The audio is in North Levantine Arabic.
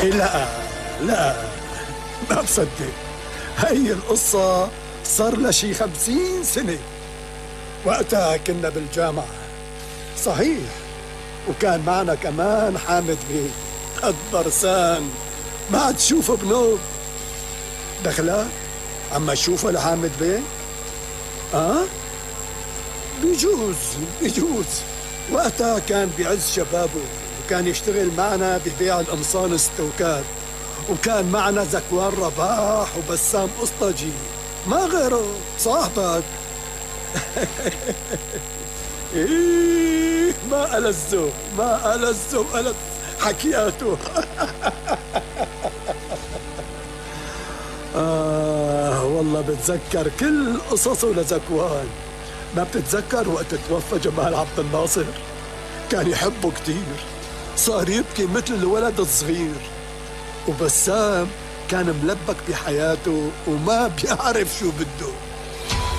لا لا، ما بصدق. هي القصة صار لها شي 50 سنة. وقتها كنا بالجامعة صحيح، وكان معنا كمان حامد بيه الضرسان، ما عاد تشوفه بنوب. دخلك عما تشوفه لحامد بيه؟ بيجوز. وقتها كان بعز شبابه، وكان يشتغل معنا ببيع القمصان الستوكات، وكان معنا زكوان رباح وبسام قسطجي، ما غيره صاحبك. إيه ما ألذ حكياته. والله بتذكر كل قصصه لزكوان. ما بتتذكر وقت توفى جمال عبد الناصر؟ كان يحبه كتير، صار يبكي مثل الولد الصغير. وبسام كان ملبك بحياته وما بيعرف شو بده.